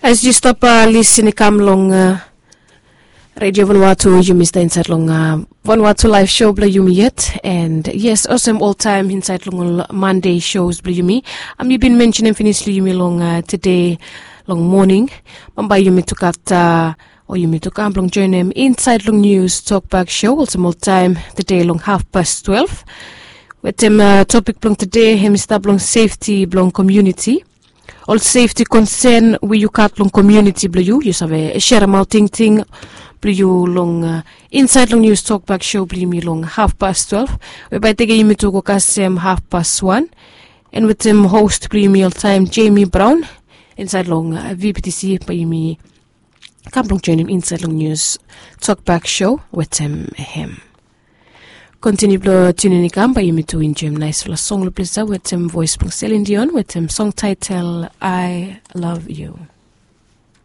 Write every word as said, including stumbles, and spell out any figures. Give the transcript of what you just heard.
As yu stap lisin i kam long redio Vanuatu, yumi stap insait long Vanuatu live show bilong yumi yet. And yes, olsem oltaim insait long ol Monday shows bilong yumi, am yu bin mentionem finis long yumi long tede long moning, bambae yumi tu gat o yumi tu kam bilong joinim insait long news tokbak show olsem oltaim tede long hafpas twelve. Wetem topik bilong tede hem i stap long sefti bilong komuniti, ol sefti konsen we yu gat long komuniti bilong yu, yu save seremaot tingting bilong yu long insait long news tokbak show bilong yumi long hafpas twelve, we bai teke yumi tu go kasem hafpas wan. And wetem host bilong yumi oltaim Jamie Brown insait long VPTC, bai yumi kam bilong joinim insait long news tokbak show wetem hem. Kontiniu bilong tunin i kam, bai yumi tu enjoim naispela song long ples ya wetem voes bilong Celine Dion wetem song title I Love You.